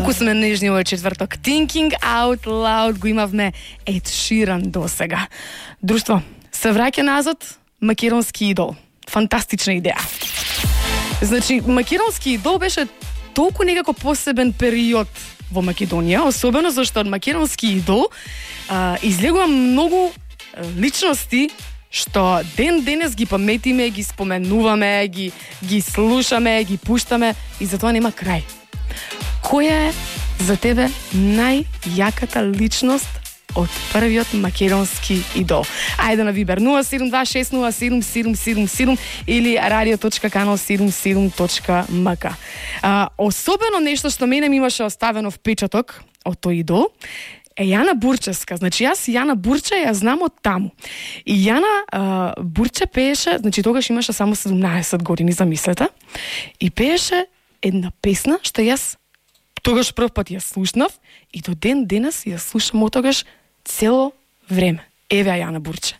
Колку сме нежни овој четврток. Thinking Out Loud го имавме Ед Ширан досега. Друштво, се враќа назад македонски идол. Фантастична идеја. Значи, македонски идол беше толку некако посебен период во Македонија, особено зашто од македонски идол излегува многу личности што ден денес ги паметиме, ги споменуваме, ги слушаме, ги пуштаме и затоа нема крај. Која е за тебе најјаката личност од првиот македонски идол? Ајде на Вибер 072607777 или radio.kanal77.mk. Особено нешто што мене ми имаше оставено впечаток од тој идол е Јана Бурчевска. Значи, јас Јана Бурче ја знам од таму. И Јана Бурче пееше, значи тогаш имаше само 17 години, замислете, и пееше една песна што јас тогаш прв пат ја слушнав и до ден денес ја слушам од тогаш цело време. Еве Јана Бурче.